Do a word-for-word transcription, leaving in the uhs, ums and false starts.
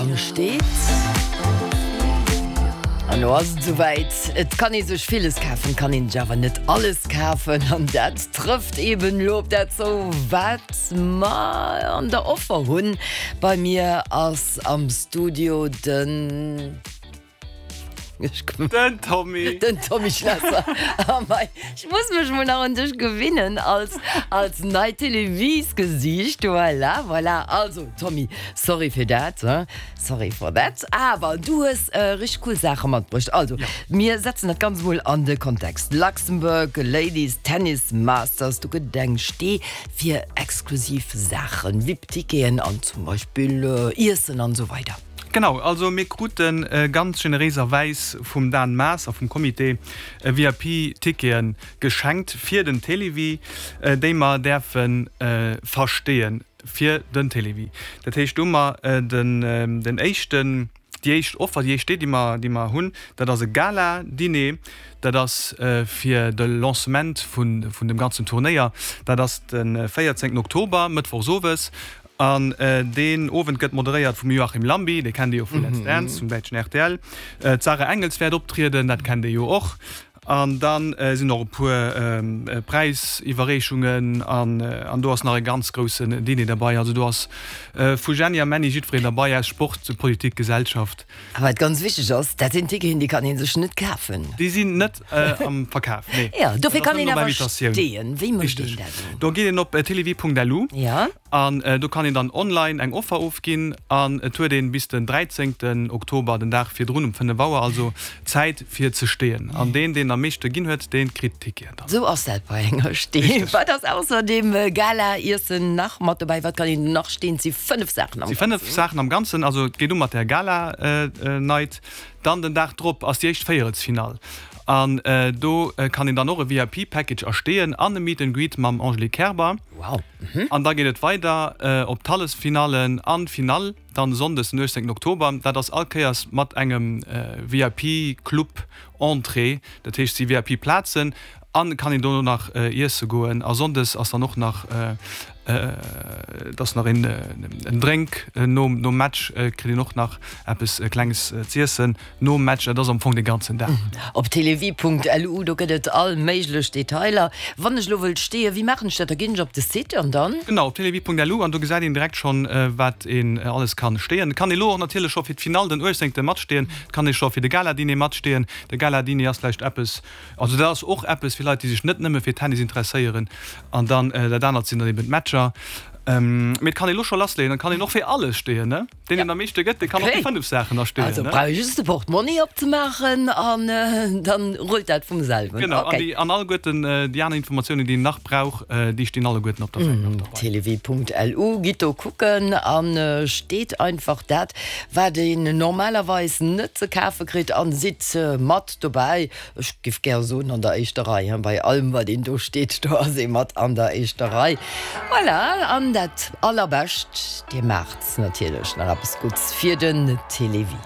Programm steet. An lo ass et souwäit. Et kann ee sech villes kafen, kann een sech awer net alles kafen. An dat trëfft eben lo op dat zou, wat mer an der Offer hunn. Bei mir ass am Studio den. Den Tommy. Den Tommy Schlesser. Oh mei, ech muss mech mol nach un dech gewinnen als, als neit Téléviesgesiicht. Voilà, voilà. Also Tommy, sorry fir dat, hein? Sorry for that. Awer du hues äh, richteg cool Saache matbruecht. Also, ja. Mir setzen dat Ganzt mol an de Kontext. Luxembourg Ladies Tennis Masters, do gëtt et eng Stee fir exklusiv Saachen, VIP-Ticketen an zum Beispill äh, Iessen an esou weider. Genau, also mir kruten ganz generéiserwäis vum Dan Maas a vum Comité VIP-Tickete geschenkt fir den Télévie, déi mer däerfe versteeën fir den Télévie. Dat heescht, do hu mer den éischten, déi éischt Offer, déi éischt Idee, déi mer, déi mer hunn, dat ass e Gala-Diner, dat ass fir de Lancement vun, vun dem ganzen Turnéier. Dat ass de véierzéngten Oktober, mëttwochs owes. An deen Owend gëtt moderéiert vum Joachim Llambi, dee kennt Dir jo vu Let's Dance, vum däitschen rtl. D'Sarah Engels wäert optrieden, dat kennt Dir jo och. An da sinn och e puer Präisiwwerreechungen an do ass nach e ganz groussen Diner derbei. Also do ass vu Jenny a Männi jiddwereen derbei, aus Sport, Politik, Gesellschaft. A wat ganz wichteg ass, dat sinn Ticketen, déi kann ee sech net kafen. Déi sinn net am Verkaf, nee. Jo, dofir kann een awer steeën. Wéi mécht een dat elo? Do geet een op télévie.lu. An do kann een dann online eng Offer ofginn an et huet een bis den dräizéngten Oktober, den Dag virdrun um fënnef Auer also, Zäit fir ze steeën. An deen, deen am meeschte ginn huet, dee kritt d'Ticketen dann. Sou ass dat bei enger Stee. Wat ass ausser dem Gala-Iessen nach mat dobäi? Wat kann een nach steen? Et si fënnef Saachen am Ganzen. Et si fënnef Saachen am Ganzen. Also et geet u mat der Gala-Night. Dann den Dag drop ass déi éischt Véierelsfinall an do kann een dann och e V I P Package ersteeën an e Meet and Greet mam Angelique Kerber. Wow. An da geet et weider op d'Halleffinallen an d'Finall dann Sonndes den uechtzéngten Oktober. Dat ass all Kéiers mat engem V I P Club Entrée, dat heescht si V I P Plazen an kann een dono nach iesse goen. A Sonndes ass dann och nach et ass nach een en Drénk nom nom Match, kritt een och nach eppes Klenges z'iessen nom Match. Dat ass am Fong de ganzen Dag. Op télévie Punkt L U, do gëtt et all méiglech Detailer. Wann ech elo wëllt steeën, wéi maachen ech dat? Da ginn ech op de Site an dann? Genau, op télévie Punkt L U an do gesäit een direkt schonn, wat een alles kann steeën. Et kann ee lo och natierlech scho fir d'Finall den uechtzéngte matsteeën. Et kann ee scho fir de Gala-Diner matsteeën. De Gala-Diner ass vläicht eppes, also dat ass och eppes fir Leit, déi sech net nëmme fir Tennis interesséieren. An dann dat anert sinn dann eben d'Matcher. Mee et kann ee lo scho lassleeën, et kann een och fir alles steeën, ne? Deen, deen am meeschte gëtt, dee kann och déi fënnef Saachen da steeën, Also ne? brauch ee just de Portmonni opzemaachen an dann rullt dat vum selwen. Genau, an déi, an alleguerten déi aner Informatiounen, déi een nach brauch, déi stinn alleguerten op der Säit nach derbei. Télévie Punkt L U, gitt do kucken an steet einfach dat, wat een normalerweis net ze kafe kritt an sidd mat dobäi. Ech giff gär soen an der éischter Rei, hein, bei allem wat een do steet, do ass ee mat an der éischter Rei. Voilà, an dat allerbescht, dir maacht natierlech nach eppes Gudds fir den Télévie.